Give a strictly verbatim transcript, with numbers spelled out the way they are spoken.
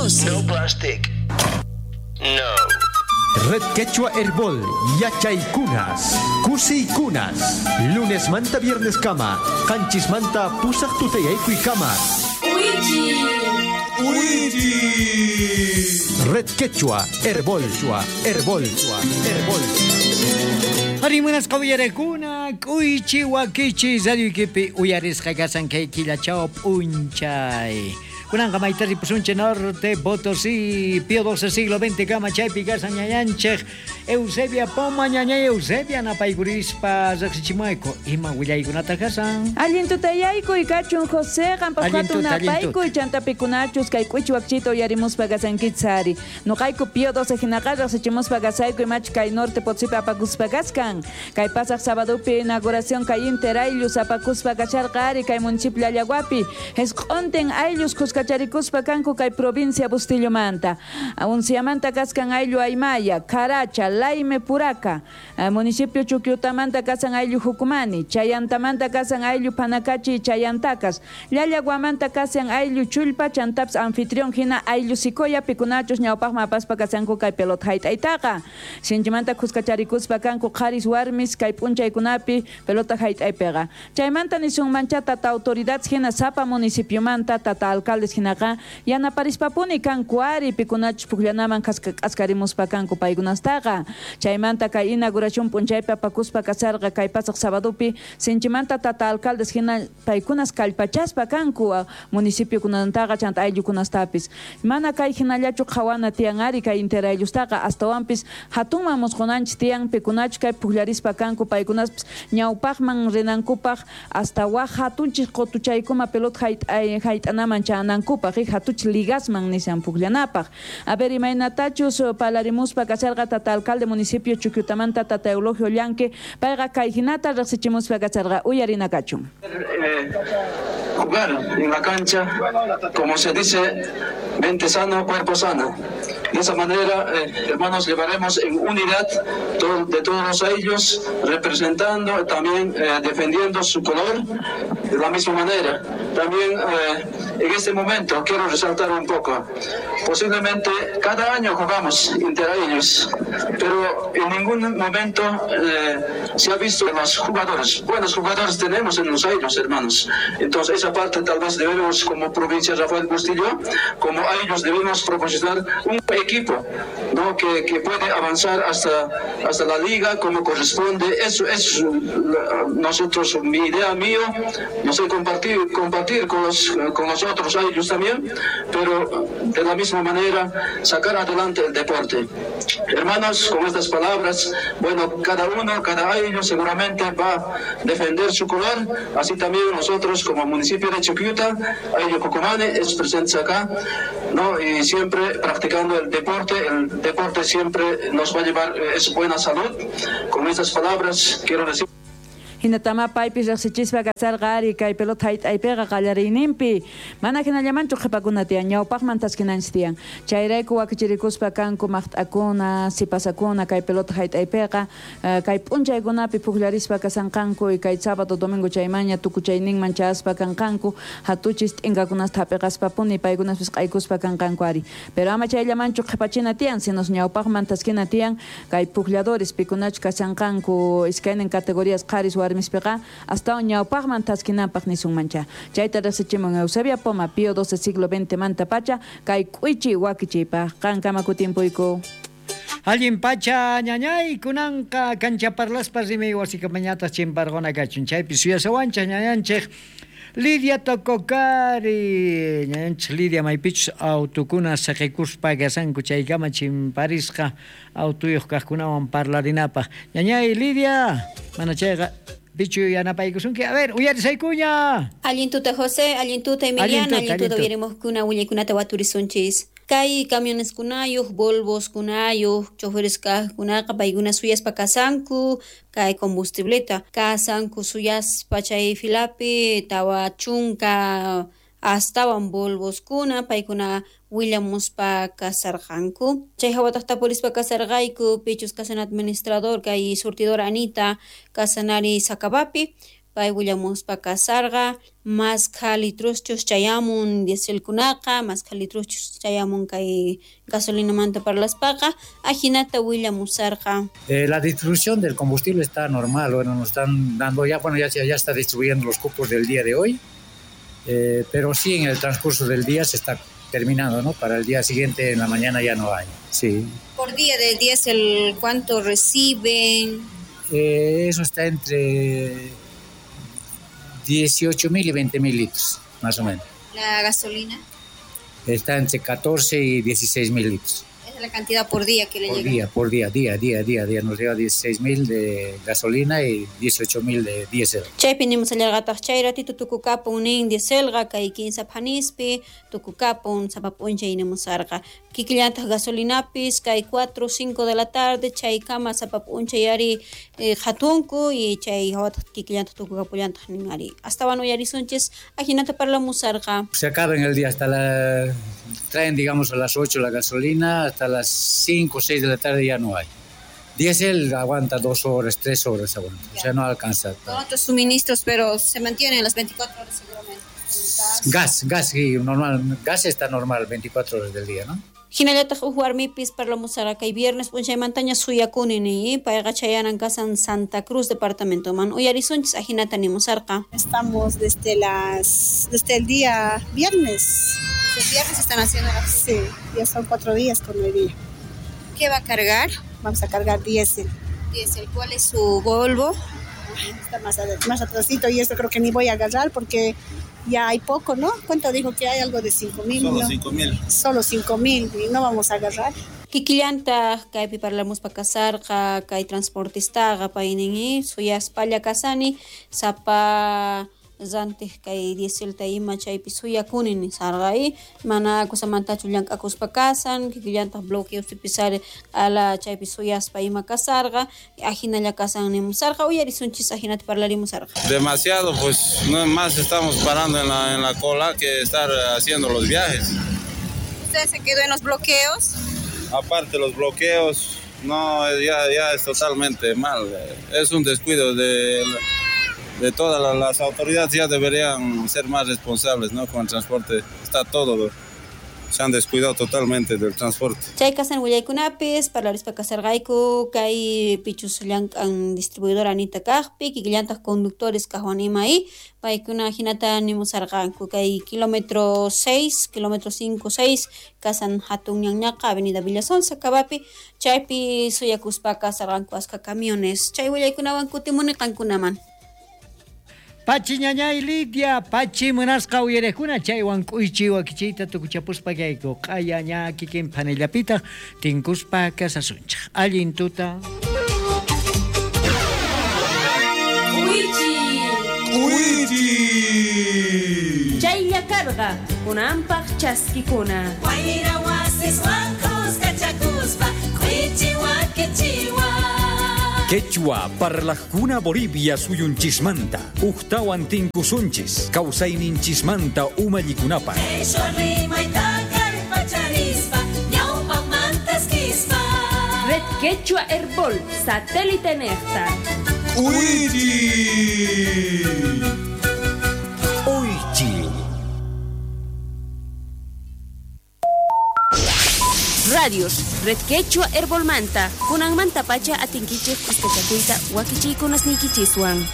doce. No plastic. No. Red Quechua Herbol, Yachaykunas, Kusiykunas, lunes manta viernes kama, qanchis manta pusaq tutayaykuy kama. Red Quechua Herbol, Herbol, Herbol. Harimunas qawiyarakuna, k'uychi wakichi radioykipi uyarisqa kasan kay killachao p'unchay. Kunanqa mayta ripusunchik norte Potosí, Pío doce siglo veinte kama chaypi kasan ñañanchik Eusebia Poma, ñañay Eusebia napaykurispa riqsichimayku ima willaykunata kasan. Allin tutayaykuy kachun José, qanpaq Allin hatun tuta, allin tuta. napaykuy chantapikunaachus kay k'uchi wakchita uyarimuspa kasankichari. Nuqayku Pío doce hinaqa riqsichimuspa kasayku imachu kay norte Potosípi apakuspa kaskan. Kay pasaq sabadupi inauguración kay Inter ayllus apakuspa kasharqa ari kay municipio Llallaguapi. Hesq'untin ayllus khuskacharikuspa kanku kay provincia Bustillomanta. Unciamanta kaskan ayllu Aymaya, Caracha, Laime Puraca, eh, municipio Chuquiutamanta kasan ayllu Jucumani, Chayantamanta kasan ayllu Panacachi y Chayantacas, Llallaguamanta kasan ayllu Chullpa, chantaps anfitrión hina ayllu Sicoya, pikunachos ñawpaqman apaspa kasanku kay pelota hayt'aytaqa. Sinchimanta khuskacharikuspa kanku qharis warmis kay p'unchaykunapi pelota hayt'aypiqa. Chaymanta nisunmancha tata autoridades hina sapa municipiomanta tata alcaldes hinaqa yanaparispapuni kanku ari pikunachus pukllanaman kaska- k'askarimuspa kanku paykunastaqa. Chaymanta kay inauguración p'unchaypi apakuspa kasarqa kay pasaq sabadupi sinchimanta tata alcaldes hina paykunas kallpachaspa kanku a, municipiokunantaqa chanta ayllukunastapis. Mana kay hinallachu qhawana tiyan ari kay Inter ayllustaqa astawanpis hatunman musqunanchis tiyan pikunachu kay pukllarispa kanku paykunaspis ñawpaqman rinankupaq hasta waj hatunchis qutuchaykuma pelota hayt'ay- hayt'anaman chanankupaq, y hatuch ligasman nisan pukllanapaq. A ver, imaynatachus palarimuspa kasharqa tata alcalde municipio Chuquiutamanta tata Eulogio Llanque, payqa kay hinata riqsichimuspa kasharqa uyarina kachun. Eh, jugar en la cancha, como se dice, mente sana, cuerpo sano. De esa manera, eh, hermanos, llevaremos en unidad to-, de todos ellos, representando, también, eh, defendiendo su color de la misma manera. También, eh, en este momento quiero resaltar un poco. Posiblemente cada año jugamos entre ellos, pero en ningún momento, eh, se ha visto los jugadores. Buenos jugadores tenemos en los ellos, hermanos. Entonces, esa parte tal vez debemos, como provincia Rafael Bustillo, como a ellos debemos proporcionar un equipo, ¿no? que, que puede avanzar hasta, hasta la liga como corresponde. Eso es la, nosotros, mi idea mío, no sé, compartir, compartir con los, con los otros ellos también, pero de la misma manera sacar adelante el deporte. Hermanos, con estas palabras, bueno, cada uno, cada año seguramente va a defender su color, así también nosotros como municipio de Chuquiuta, Ayllu Jucumani es presente acá, ¿no? Y siempre practicando el deporte, el deporte siempre nos va a llevar, eh, es buena salud. Con estas palabras quiero decir. Hinatama paypis riqsichispa kasarqa ari kay pelota hayt'aypiqa qallariyninpi. Mana hinallamanchu qhipakuna tiyan, ñawpaqman taskinanchis tiyan. Chayrayku wakichirikuspa kanku maqt'akuna, sipasakuna kay pelota hayt'aypiqa, eh, kay p'unchaykunapi pukllarispa kasanqanku y kay sábado domingo chaymaña tukuchayninman chayaspa kanqanku, hatuchis t'inkakunasta hap'iqaspapuni paykunaspis q'aykuspa kanqanku ari. Pero ama chayllamanchu qhipachina tiyan, sino ñawpaqman taskina tiyan kay puklladores pikunachu kasanqanku iskaynin categorías qharis warmispiqa hasta ñawpaqman taskinanpaq nisunmancha. Chayta riqsichimun Eusebia Poma, Pío doce siglo veinte manta pacha, kay k'uychi wakichiypaq. Qankama kutimpuyku. Allin pacha ñañay kunanqa kancha parlaspa rimay wasikamañataq chimparquna kachun. Chaypi suyasawanchik ñañanchik Lidia Tococari, ñañanchik Lidia maypichus autukuna saqikuspa kasanku chaykama chimparisqa autuyuq kaqkunawan parlarinapaq. Ñañay Lidia, mana chayqa pichu yanapaykusunki. A ver, uyarisaykuña. Allin tuta José, allin tuta Emiliana, Allin tuta, allin tuta allin tuta. uyarimuqkuna willaykunata waturisunchis. Kay camiones kunayuq, Volvos kunayuq, choferes kaqkunaqa paykuna suyaspa kasanku, kay combustibleta kasanku suyaspa chay filapi tawa chunka astawan Volvos kuna paykuna willamuspa kasarqanku. Chay hawataq tapurispa kasarqayku, pichus kasan administrador kay surtidora Anita kasanari Sacabapi. Pay willamuspa kasarqa maskha litruschus chayamun dieselkunaqa, maskha litruschus chayamun kay gasolinamanta parlaspaqa, ajinata willamusarqa. Eh, la distribución del combustible está normal, bueno, nos están dando ya, bueno, ya, ya está distribuyendo los cupos del día de hoy, eh, pero sí en el transcurso del día se está terminando, ¿no? Para el día siguiente en la mañana ya no hay. Sí. Por día del diésel, ¿cuánto reciben? Eh, eso está entre dieciocho mil y veinte mil litros, más o menos. ¿La gasolina? Está entre catorce y dieciséis mil litros. Es la cantidad por día que le por llega. Día, por día, día, día, día, día. Nos llega dieciséis mil de gasolina y dieciocho mil de diésel. Chaypi nimusallarqataq chay ratito tukukapun nin dieselqa kay kinsa phanispi tukukapun sapa p'unchay nimusarqa. Kikillantaq gasolinapis kay cuatro cinco de la tarde chaykama sapa p'unchay ari eh, hatunku y chay hawataq kikillantaq tukukapullantaq nin ari. Astawan uyarisunchis ajinata parlamusarqa. Se acaba en el día hasta la... Traen, digamos, a las ocho la gasolina, hasta las cinco o seis de la tarde ya no hay. Diésel aguanta dos horas, tres horas aguanta, o sea, no alcanza. Con otros suministros, pero se mantienen las veinticuatro horas seguramente. Gas, gas, gas sí, normal, gas está normal, veinticuatro horas del día, ¿no? Hinallataq uj warmipis parlamusarqa kay viernes p'unchaymantaña suyakuni ni payqa chayanan kasan Santa Cruz departamentoman uyarisunchis ajinata nimusarqa. Estamos desde las desde el día viernes. Desde el viernes están haciendo la... Sí, ya son cuatro días con el día. ¿Qué va a cargar? Vamos a cargar diésel. Diésel, ¿cuál es su Volvo? Está más, más atrasito y esto creo que ni voy a agarrar porque ya hay poco, ¿no? ¿Cuánto dijo que hay? Algo de cinco mil. Solo ¿no? cinco mil. Solo cinco mil y no vamos a agarrar. Kikillantaq kaypi parlamuspa kasarqa kay transportistaqa paynin suyaspalla kasani sapa rantiq kay dieselta ima chaypi suyakuni nisarqa y mana kusamantachu llank'akuspa kasan kikillantaq bloqueospipis ari q'ala chaypi suyaspa ima kasarqa ajinalla kasan nimusarqa uyarisunchis ajinata parlarimusarqa. Demasiado, pues no más estamos parando en la, en la cola que estar haciendo los viajes. ¿Usted se quedó en los bloqueos? Aparte los bloqueos, no, ya, ya es totalmente mal. Es un descuido de, de todas las, las autoridades, ya deberían ser más responsables, ¿no? Con el transporte, está todo, se han descuidado totalmente del transporte. Chay kasan willaykunapis parlarispa kasarqayku kay pichus llank'an distribuidora Anita kaqpi kikillantaq conductores kaqwan ima y paykuna hinata nimusarqanku kay kilómetro seis, kilómetro cinco, seis kasan hatun ñanñaqa avenida Villa Sonsa Kabapi chaypi suyakuspa kasarqanku aska camiones chay willaykunawan kutimuni qankunaman. Pachi ñañay Lidia, pachi munasqa uyarejkuna chaywan k'uychi wakichiyta tukuchapuspa kayku q'aya ña kikin phanillapitaq tinkuspa kasasunchik. Allin tuta. K'uychi. K'uychi. Chaylla karqa kunanpaq chaskikuna. Wayra wasiswan kuskachakuspa k'uychi wakichiwan. Quechua parlajkuna Bolivia suyunchismanta, ujtawan tinkusunchis, kawsayninchismanta umallikunapaq. Red Quechua Herbol, satélite nefta. ¡Uichi! Uichi. Radios, Red Quechua Herbolmanta, kunanmanta pacha atinkichik kuskachakuyta wakichiykunasniykichiswan.